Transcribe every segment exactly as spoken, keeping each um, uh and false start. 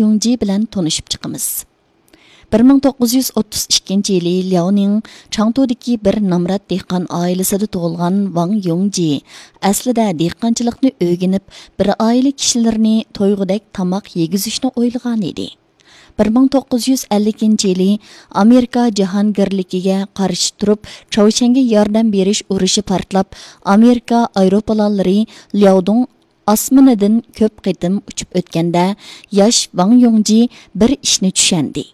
يۇڭجى بىلەن تونۇشۇپ چىقىمىز. بىر مىڭ توققۇز يۈز ئوتتۇز ئىككىنچى يىلى لياۋنىڭ چاڭتۇدىكى بىر نامرات دېھقان ئائىلىسىدە تۇغۇلغان ۋاڭ يۇڭجى ئەسلىدە دېھقانچىلىقنى ئۆگىنىپ، بىر ئائىلە كىشىلىرىنى تويغۇدەك تاماق يېگۈزۈشنى ئويلىغانىدى. بىر مىڭ توققۇز يۈز ئەللىكىنچى يىلى ئامېرىكا جاھانگىرلىكىگە قارشى تۇرۇپ، چاۋشيەنگە ياردەم بېرىش ئۇرۇشى پارتلاپ، ئامېرىكا ئايروپىلانلىرى لياۋدۇڭ ئاسمىنىدىن كۆپ قېتىم ئۇچۇپ ئۆتكەندە، ياش ۋاڭ يۇڭجى بىر ئىشنى چۈشەندى.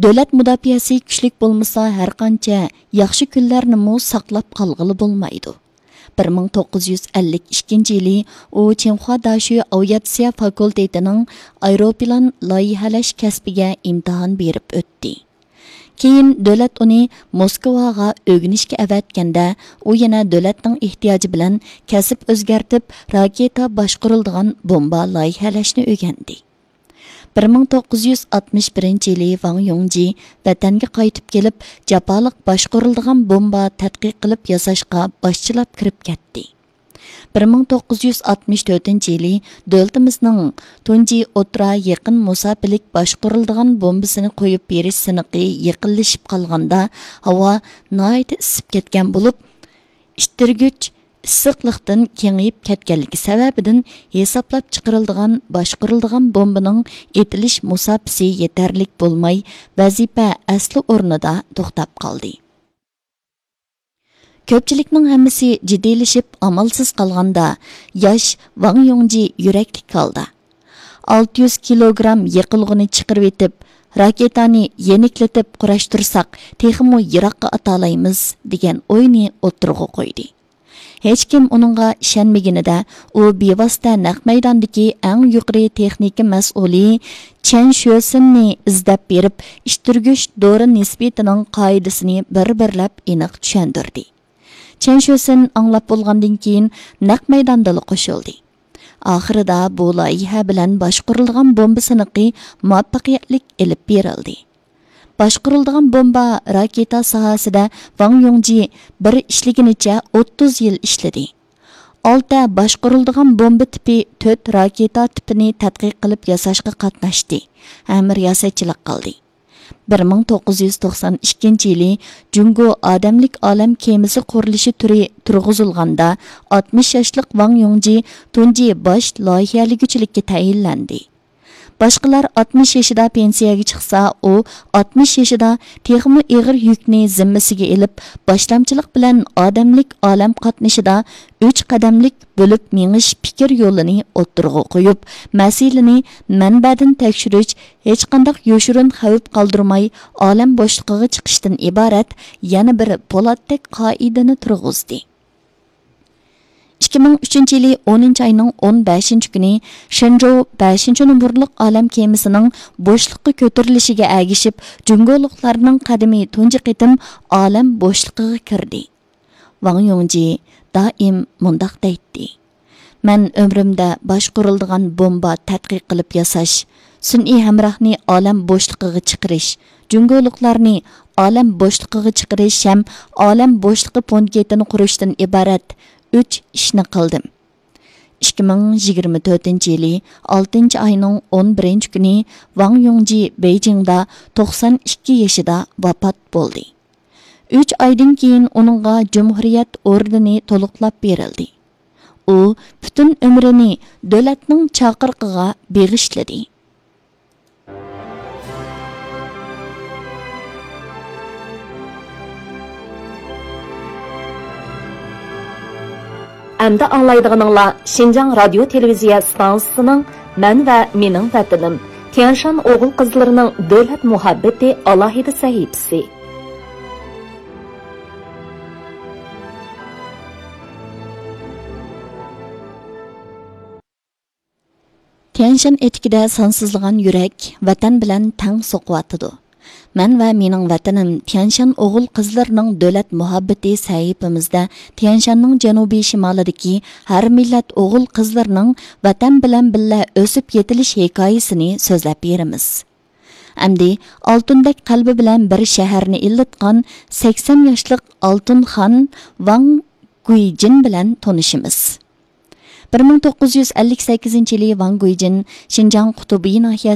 دۆلەت مۇداپىئەسى كۈچلۈك بولمىسا، ھەرقانچە ياخشى كۈنلەرنىمۇ ساقلاپ قالغىلى بولمايدۇ. بىر مىڭ توققۇز يۈز ئەللىك ئىككىنچى يىلى ئۇ چىڭخۇا داشۆ ئاۋىئاتسىيە فاكۇلتېتىنىڭ ئايروپىلان لايىھەلەش كەسپىگە ئىمتىھان بېرىپ ئۆتتى. كېيىن دۆلەت ئۇنى موسكۋاغا ئۆگىنىشكە ئەۋەتكەندە، ئۇ يەنە دۆلەتنىڭ ئېھتىياجى بىلەن كەسىپ ئۆزگەرتىپ، راكېتا باشقۇرۇلىدىغان بومبا لايىھەلەشنى ئۆگەندى. بىر مىڭ توققۇز يۈز ئاتمىش بىرىنچى يىلى ۋاڭ يۇڭجى ۋەتەنگە قايتىپ كېلىپ، جاپالىق باشقۇرۇلىدىغان بومبا تەتقىق قىلىپ ياساشقا باشچىلاپ كىرىپ كەتتى. بىر مىڭ توققۇز يۈز ئاتمىش تۆتىنچى يىلى دۆلىتىمىزنىڭ تۇنجى ئوتتۇرا يېقىن مۇساپىلىك باشقۇرۇلىدىغان بومبىسىنى قويۇپ بېرىش سىنىقى يېقىنلىشىپ قالغاندا، ھاۋا ناھايىتى ئىسسىپ كەتكەن بولۇپ، ئىتتىرگۈچ ئىسسىقلىقتىن كېڭىيىپ كەتكەنلىكى سەۋەبىدىن، ھېسابلاپ چىقىرىلىدىغان باشقۇرۇلىدىغان بومبىنىڭ ئېتىلىش مۇساپىسى يېتەرلىك بولماي، ۋەزىپە ئەسلى ئورنىدا توختاپ قالدى. كۆپچىلىكنىڭ ھەممىسى جىددىيلىشىپ، ئامالسىز قالغاندا، ياش ۋاڭ يۇڭجى يۈرەكلىك ھالدا، «ئالتە يۈز كىلوگرام يېقىلغۇنى چىقىرىۋېتىپ، راكېتانى يېنىكلىتىپ قۇراشتۇرساق، تېخىمۇ يىراققا ئاتالايمىز» دېگەن ئوينى ئوتتۇرىغا قويدى. ھېچكىم ئۇنىڭغا ئىشەنمىگىنىدە، ئۇ بىۋاسىتە نەق مەيداندىكى ئەڭ يۇقىرى تېخنىكا مەسئۇلى چېن شۆسىننى ئىزدەپ بېرىپ، ئىتتىرگۈچ دورا نىسبىتىنىڭ قائىدىسىنى بىر-بىرلەپ ئېنىق چۈشەندۈردى. چېن شۆسىن ئاڭلاپ بولغاندىن كېيىن نەق مەيداندىلا قوشۇلدى. ئاخىرىدا بۇ لايىھە بىلەن باشقۇرۇلىدىغان بومبا سىنىقى مۇۋەپپەقىيەتلىك ئېلىپ بېرىلدى. باشقۇرۇلىدىغان بومبا راكېتا ساھەسىدە ۋاڭ يۇڭجى بىر ئىشلىگىنىچە ئوتتۇز يىل ئىشلىدى. ئالتە باشقۇرۇلىدىغان بومبا تىپى، تۆت راكېتا تىپىنى تەتقىق قىلىپ ياساشقا قاتناشتى ھەم رىياسەتچىلىك قىلدى. بىر مىڭ توققۇز يۈز توقسان ئىككىنچى يىلى جۇڭگو ئادەملىك ئالەم كېمىسى قۇرۇلۇشى تۈرى تۇرغۇزۇلغاندا، ئاتمىش ياشلىق ۋاڭ يۇڭجى تۇنجى باش لايىھەلىگۈچىلىككە تەيىنلەندى. باشقىلار ئاتمىش يېشىدا پېنسىيەگە چىقسا، ئۇ ئاتمىش يېشىدا تېخىمۇ ئېغىر يۈكنى زىممىسىگە ئېلىپ، باشلامچىلىق بىلەن ئادەملىك ئالەم قاتنىشىدا ئۈچ قەدەملىك بۆلۈپ مېڭىش پىكىر يولىنى ئوتتۇرىغا قويۇپ، مەسىلىنى مەنبەدىن تەكشۈرۈش، ھېچقانداق يوشۇرۇن خەۋپ قالدۇرماي ئالەم بوشلۇقىغا چىقىشتىن ئىبارەت يەنە بىر پولاتتەك قائىدىنى تۇرغۇزدى. ئىككى مىڭ ئۈچىنچى يىلى ئونىنچى ئاينىڭ ئون بەشىنچى كۈنى شېنجوۋ بەشىنچى نومۇرلۇق ئالەم كېمىسىنىڭ بوشلۇققا كۆتۈرۈلۈشىگە ئەگىشىپ، جۇڭگولۇقلارنىڭ قەدىمى تۇنجى قېتىم ئالەم بوشلۇقىغا كىردى. ۋاڭ يۇڭجى دائىم مۇنداق دەيتتى: «مەن ئۆمرۈمدە باشقۇرۇلىدىغان بومبا تەتقىق قىلىپ ياساش، سۈنئىي ھەمراھنى ئالەم بوشلۇقىغا چىقىرىش، جۇڭگولۇقلارنى ئالەم بوشلۇقىغا چىقىرىش ھەم ئالەم بوشلۇقى پونكىتىنى قۇرۇشتىن ئىبارەت ئۈچ ئىشنى قىلدىم.» ئىككى مىڭ يىگىرمە تۆتىنچى يىلى ئالتىنچى ئاينىڭ ئون بىرىنچى كۈنى ۋاڭ يۇڭجى بېيجىڭدا توقسان ئىككى يېشىدا ۋاپات بولدى. ئۈچ ئايدىن كېيىن ئۇنىڭغا جۇمھۇرىيەت ئوردېنى تولۇقلاپ بېرىلدى. ئۇ پۈتۈن ئۆمرىنى دۆلەتنىڭ چاقىرىقىغا بېغىشلىدى. ئەمدى ئاڭلايدىغىنىڭلار شىنجاڭ رادىيو تېلېۋىزىيە ئىستانسىسىنىڭ مەن ۋە مېنىڭ ۋەتىنىم، تيەنشان ئوغۇل قىزلىرىنىڭ دۆلەت مۇھەببىتى ئالاھىدە سەھىپىسى. تيەنشان ئېتىكىدە سانسىزلىغان يۈرەك ۋەتەن بىلەن تەڭ سوقۇۋاتىدۇ. مەن ۋە مېنىڭ ۋەتىنىم تيەنشان ئوغۇل قىزلىرىنىڭ دۆلەت مۇھەببىتى سەھىپىمىزدە تيەنشاننىڭ جەنۇبىي شىمالىدىكى ھەر مىللەت ئوغۇل قىزلىرىنىڭ ۋەتەن بىلەن بىللە ئۆسۈپ يېتىلىش ھېكايىسىنى سۆزلەپ بېرىمىز. ئەمدى ئالتۇندەك قەلبى بىلەن بىر شەھەرنى ئىللىتقان سەكسەن ياشلىق ئالتۇنخان ۋاڭ گۇيجىن بىلەن تونۇشىمىز. بىر مىڭ توققۇز يۈز ئەللىك سەككىزىنچى يىلى ۋاڭ گۇيجىن شىنجاڭ قۇتۇبىي ناھىيەسى